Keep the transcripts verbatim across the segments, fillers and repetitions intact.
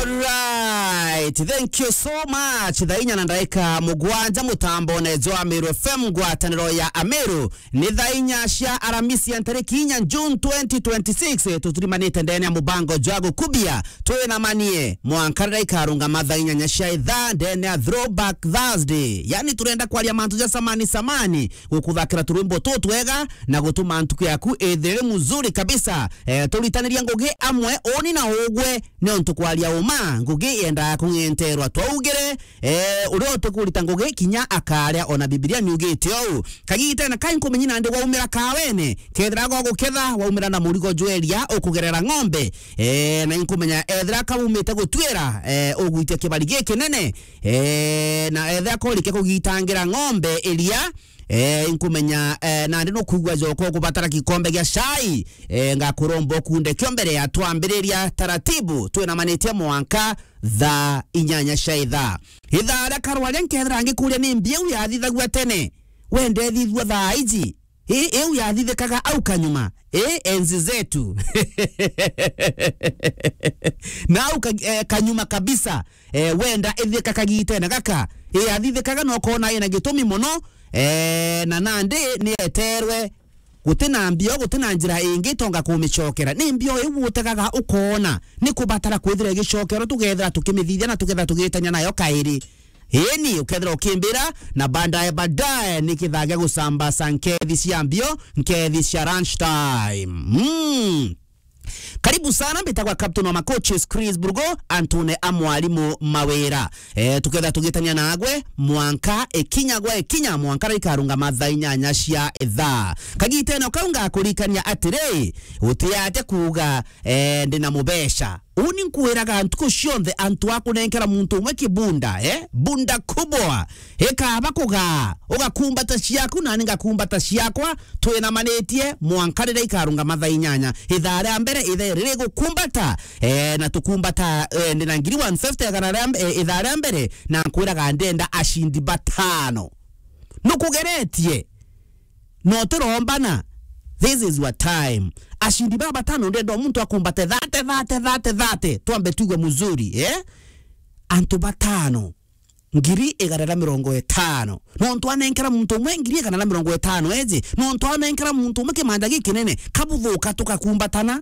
Right, thank you so much. Thaa inya na ndaika mugwanja, mutambone jwa Ameru F M, ngwataniro ya Ameru. Ni thaa inya cia Aramisi ya ntariki inya June twenty twenty-six. Tutirimanite ndene ya mubango jwa gukubia. Twina manie mwanka riria ikarungama thaa inyanya cia ithaa ndene ya Throwback Thursday. Yani, turenda kwaria mantu ja samani samani, gukuthakira turwimbo tutwega na gutuma ntuku yaku ithire muzuri kabisa. Eh, turitaniria ngugi amwe, uni na ugwe, ni untu kwaria uma, ngugi yendaa kung'enterwa. Twaugire, eh, uria utikurita ngugi kinya akaria, ona Bibilia niugite ou. Kagitene kai nkumenyi nandi waumira kawene, kethira goguketha, waumira na murigo jweria ukugerera ng'ombe. Eh, na inkumenya ethira kaumite gutwira, eh, ugwitia kibari gikinene. Eh, na ethira korikia kugitangira ng'ombe iria, eh, inkumenya, eh, nandi nukwigua joko kubatara gikombe gia cai. Eh, ngakuromba ukunde kio mbere ya twambiriria taratibu, twinamanitie mwanka thaa inyanya cia ithaa. Ithaa ria karwaria nkethira ngikuria ni mbiu yathithagua tene, we ndethithua thaa iji? I, iu yathithikaga au kanyuma, i, enzi zetu. Na au ka, eh, kanyuma kabisa, eh, wenda ithika kagitene gaka, i, yathithikaga na ukona ina gitumi mono, eh, na nandi ni eterwe. Guti na mbio, guti na njira ingi tonga kumicokera. Ni mbio iu utegaga ukona ni kubatara kwithira igicokero, tugethira tukimithithia na tugethira tugitania nayo kairi. Eni, ukethira ukimbira, na baadaye, baadaye ni kithaa gia gucambasa nkethi cia mbio, nkethi cia lunch time. Mm. Karibu sana, mbitagwa Captain wa Macoaches, Chris Burgo, antune a mwarimu Mawira. Eh, tukethira tugitania nagwe, mwanka ikinya gwa ikinya, mwanka riria ikarungama thaa inyanya cia ithaa. Kagitene kau ngakurikania atiri, utiate kuuga, eh, ndi na mubeca. Uni nkwiraga ntuku cionthe antu a kunenkera muntu umwe kibunda, eh? Bunda kubwa. Ikaba kugaa, ugakumbata ciaku, nani ngakumbata ciakwa, twinamanitie mwanka riria ikarungama thaa inyanya. Ithaa ria mbere, ithaa riri gukumbata, eh, na tukumbata, eh, ndi na ngiri one fifty igana ria mb-, eh, ithaa ria mbere, na nkwiraga ndenda acindi batano. Nukugeretie? No turombana. This is your time. Acindi baba batano ndenda o muntu akumbate thate, thate, thate, thate. Twambe tuigue muzuri, eh? Antu batano. Ngiri igana na mirongo itano. Nontu anenkera muntu umwe ngiri igana na mirongo itano, eji? Nontu anenkera muntu umwe kimanja gikinene, kabuthuka tukakumbatana.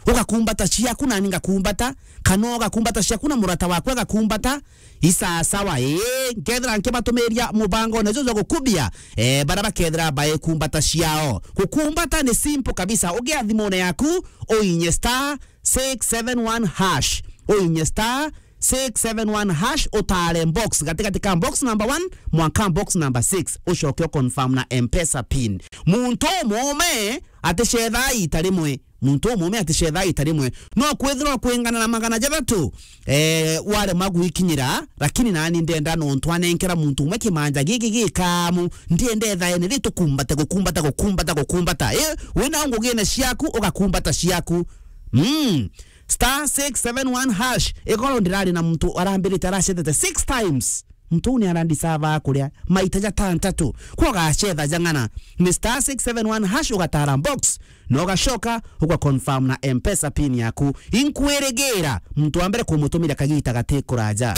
Ugakumbata ciaku nani ngakumbata, kana ugakumbata ciaku na murata waku agakumbata. Isasawa, ii, nkethira nkibatumiria mubango nejo jwa gukubia, eh, bara bakethira baikumbata ciao. Gukumbata ni simple kabisa. Ugia thimune yaku, uinye star six seven one hash. Uinye star six seven one hash, utare box, gatigati ka box number one mwanka box number six, ucoke u confirm na M-Pesa pin. Muntu umume aticethaa ita rimwe. Muntu umume aticethaa ita rimwe. No kwithirwa kwingana na magana jathatu, eh, warema gwikinyira, lakini nani ndenda nontu anenkera muntu umwe kimanja giki gikamu, ndienda ethaene ri tukumbate, gukumbata, gukumbata, gukumbata. Eh, wina ngugine ciaku, ugakumbata ciaku. Mm. Star six seven one hash. Igoro ndirari na muntu arambirite aracethete six times. Muntu uu ni arandisava kuria maita jatantatu. Kwa ugacetha jang'ana. Ni star six seven one hash, ugatara box, na ugacoka uga confirm na M-Pesa pin yaku. Inkwirigira muntu wa mbere kumutumira kagita gati kuraja.